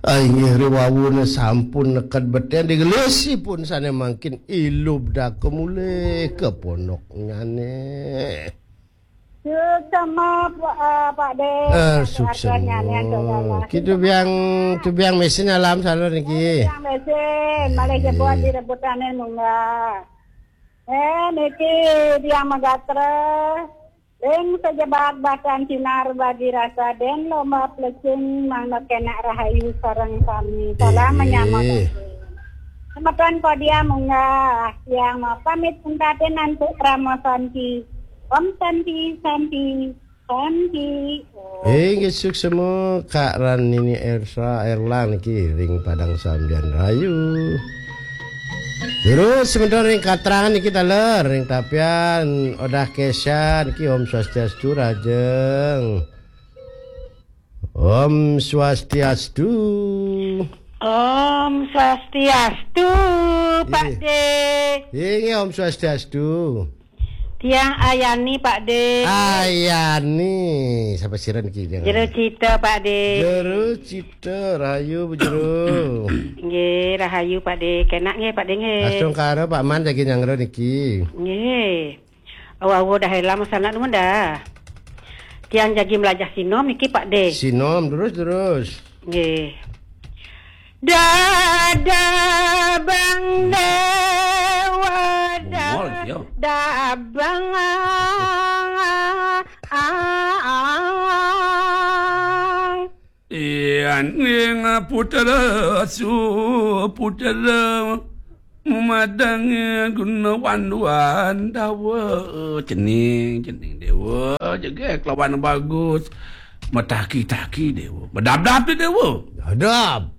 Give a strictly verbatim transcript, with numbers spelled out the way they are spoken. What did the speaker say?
Inggih, ri wawune sampun neked beten, digelisipun sane mangkin ilub daka mulih ka pondoknyane. Suksema, eh, Pak De. Eh, suksema. Ki tubiang, tubiang mesin alam salon niki. Tubiang mesin, malih jebot direbutane munggah. Eh, niki tiang megatra. Ring sejebat batan sinar bagi rasa den lomba plecing mangda kenak rahayu sareng sami. Salam menyambut. Semeton kodia munggah, tiang mau pamit pungkatin antuk Rama Santi. Om Santi, Santi, Santi. Inggih, suksema Kak Ran Nini Ersa Erlang niki ring Padang Sambian Rayu. Terus sementara ring Katrangan niki taler, ring Tapian Odah Kesha niki Om Swastiastu Rajeng. Om Swastiastu. Om Swastiastu, Pak De. Inggih, Om Swastiastu. Tiang Ayani, Pak De. Ayani, sapa sira niki? Jero Cita, Pak De. Jero Cita, rahayu Bu Jero. Nggih, rahayu, Pak De. Kenak nggih, Pak De, nggih. Astungkara, Pak Man jagi nyanggra niki. Nggih. Awa-awa dah elam sanak nuwun dah. Tiang jagi melajah sinom niki, Pak De. Sinom terus, terus. Nggih. Dadabang Dewa, Bungol, yo. Dadabang. Yan ing putra su putra madangi guna wanduan dawa. Cening, cening dewa, jegek lawan bagus. Mataki-taki dewa. Bedabdab tu dewa. Dadab.